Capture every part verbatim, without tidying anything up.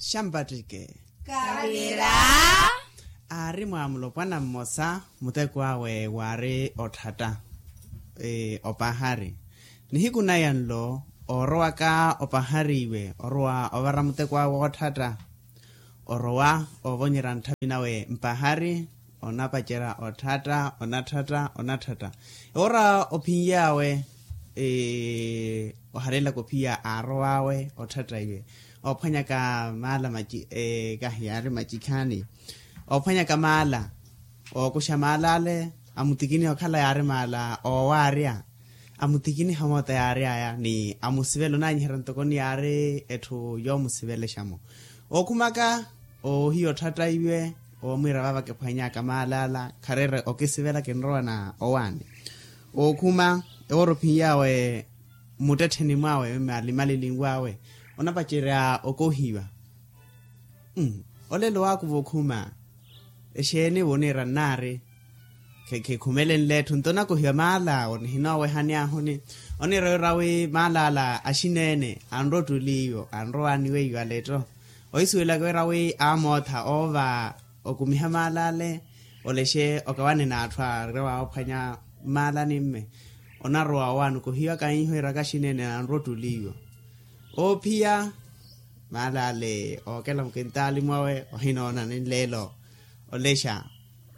Xampattike. Kavira. Aari mwa mulopwana mmosa, muteko awe waari otthatta opahari. Nihiku naya nlo, oorowaka opahari iwe orowa ovara muteko awe wootthatta. Orowa ovonyerya ntthavi nawe mpahari, onapacerya otthatta, onatthatta, onatthatta. Ewora ophinyawe, oharelaka ophiya aarowawe otthatta iwe, oophwanyaka maala kahi yaari macikhaani. Oophwanyaka maala, ookuxa maala ale, amutikiniha okhala yaari maala oowaarya. Amutikiniha moota yaari aya ni amusivela onaanyiherya ntoko ni yaari etthu yoomusivelexa-mo. Ookhumaka, oohiya otthatta iwe, oomwiira vaava kiphwanyaka maala ala khareera okisivela kinrowa na owaani. Ookhuma, ewoora ophinyawe muttettheni mwawe malimalinwawe, onapacerya okohiwa. Olelo waakuva okhuma. Exeeni vo oniira nnaari? Khikhumelenle etthu nto onakohiwa maala awo nihinooweha ni ahuni. Oniira wira wi maala ala axineene anrowa ottuli iwo anrowa aniweiwa aletto. Ohisuwelaka wira wi amootha oova okumiha maala ale, olexe okawane n'atthu aarowa oophwanya mmaala ni mme. Onarowa owaani okohiwaka hiiho iraka axineene anrowa ottuli iwo. Oophiya maala ale ookela mukintaali mwawe ohinoona ninleelo. Olexa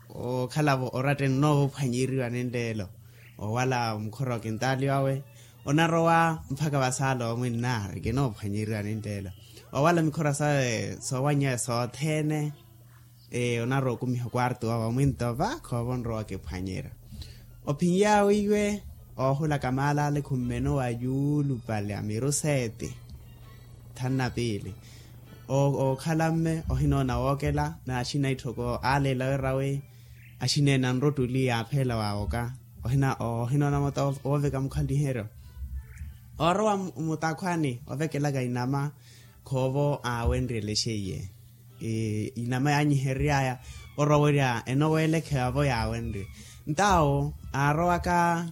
okhalavo orattene onoova ophwanyeriwa ninleelo. Owala mukhora wa kintaali wawe onarowa mpakha vasaala omwinnaari kinoophwanyeriwa ninleelo. Owala mikhora sawe soowany'awe sothene. Onarowa okumiha okwarto wawe omwinto vaakha ova onrowa okiphwanyerya. Ophinyawe iwe oohulaka maala ale khummenowa yuulupale a miru seeti. Thanu na piili. Ookhala mme ohinoona wookela n'axina itthoko aaleela wira wi axineene anrottuli yaapheela waawoka. Ohinoona moota wooveka mukhaliheryo. Oorowa mutakhwani ovekelaka inama khoovo aawenryelexe iye. Inama yaanyiherery'aya orowerya enoweelekheya vo yaawenrye. Ntawo aarowaka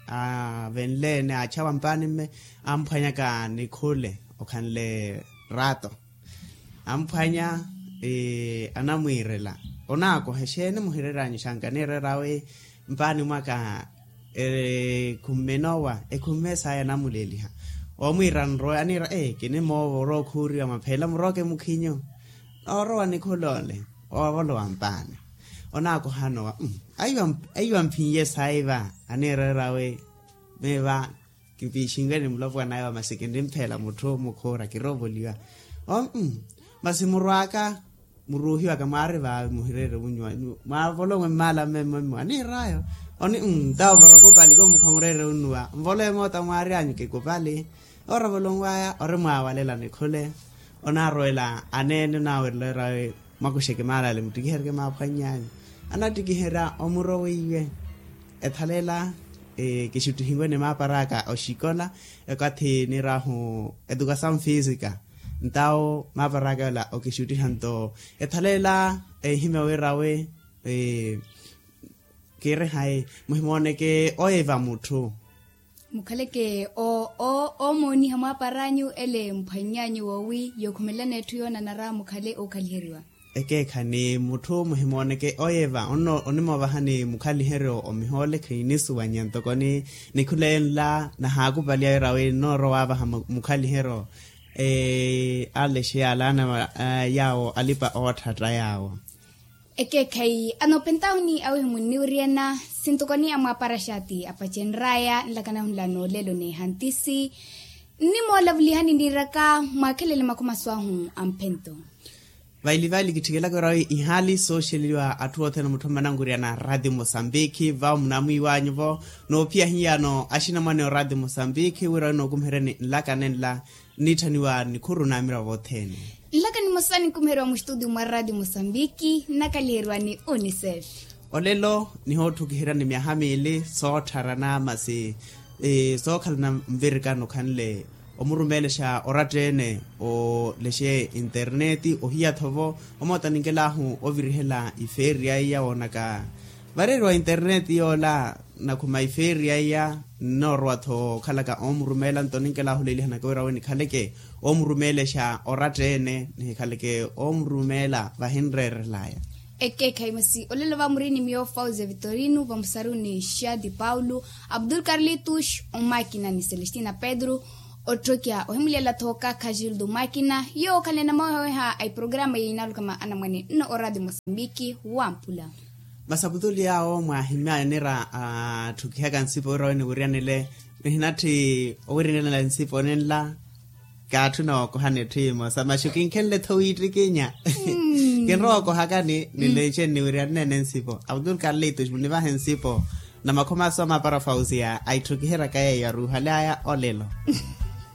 aavenle-ene aachawa mpaani mme amphwanyaka nikhule okhanle rato. Amphwanya anamwiirela onaakoha exeeni muhireeranyu xanka niireera wi mpaani mwaka ekhumme enowa ekhumme saya anamuleeliha. Omwiira nrowe aniira ee kinimoova orowa okhuuriwa mapheela murooke mukhinyu. Oorowa nikhul'ole oovolowa mpaani onaakoha anowa. Aiwa mphinye saiva aniireera wi miiva kipiixinwene mulopwana aiwa masi kinimphela mutthu mukhuura kiroovoliwa. Masi murw'aka muruuhiwaka mwaari vaavi muhireere wunyuwa. Mwaavolomwe mmaala mmemmwe mmoa niir'ayo. Oni ntawo vara okupali komukhwa mureere unnuwa mvolowe moota mwaari anyu kikupali. Oravolonw'aya ori mwaawalela nikhule. Onaarowela aneene onaawerela wira wi mwakuxeke maala ale muttikiheryeke maaphwanny'anyu. Anattikiherya omuro weiwe. Ethalela kixuttihiwene maapar'aka oxikola ekathi niir'ahu edukasawu fiisika. Ntawo maapar'aka yola okixuttiha nto ethalela ehimya wira wi kiirihayi muhimooneke oye va mutthu. Mukhaleke oomooniha mwaapar'anyu ele mphwanny'anyu woowi yookhumelelana etthu yoonanara mukhale ookhaliheriwa. Ekeekha ni mutthu muhimooneke oye va onimoovahani mukhaliheryo omihoole khinisuwanya ntoko ni nikhule nla nahaakupaliya wira wi nnoorowa waavaha mukhaliheryo. Alexe yaalaana yaawo alipa ootthatta yaawo. Ekeekhayi anoopentahuni awihi munniwiriyana sintokoni amwaapara xaati apacenr'aya nlakanahu nla noolelo n'ehantisi. Nnimoolavulihani nniiraka mwaakhelele makhumasu ahu amphento. Vaili vaili kitthikelaka wira wi ihaali sooxeliwa atthu othene mutthu mmanankuriyana rati mosambikhi vawo munamwiiwanyu-vo. Noophiya hiyano axinamwane orati mosambikhi wira wi nookumiheryani nlaka nenla nnitthaniwa nikhuru n'amiravo othene. Nlaka nimosa ninkumiherya muxitudio mwa rati mosambikhi nnakaliheriwa ni unicef. Olelo nihoottukiheryani myaha miili sootthara na masi sookhalana nvirikano khanle omurumeelexa oratta-ene olexe interneti ohiya-tho vo omoota ninkelahu ovirihela ifeeriya iya woonaka vareeriwa interneti yoola. nakhuma ifeeri yaiya nnoorowa-tho okhalaka oomurumeela nto ninkelaahuleelihanaka wira awe nikhaleke oomurumeelexa oratta-ene nihikhaleke oomurumeela vahinreerelaya. Ekeekhayi masi olelo vamuri ni miyo fauze vitorino vamusaruni xadi paulo, abdul carlitus omakina ni celestina pedro, otthokiha ohimulela-tho kaakha gildo makina yoowo okhalene mawehaweha a iprograma yinaluka ma anamwane nno oradio mosambiki wampula. Masaputuli awo mwahimya nira atthukihaka nsipo wira weniwiryanile nihinatthi owirinela nsipo ninla. Kaatthuna okohani etthimo sa maxu kinkhenle-tho wiittikinya. Kinrowa okohakani nileexe nniwiryanene nsipo abdul carlitus munivahe nsipo. Na makhoma aso amapara fausia aitthukihiraka yeeyo aruuhalyaya olelo.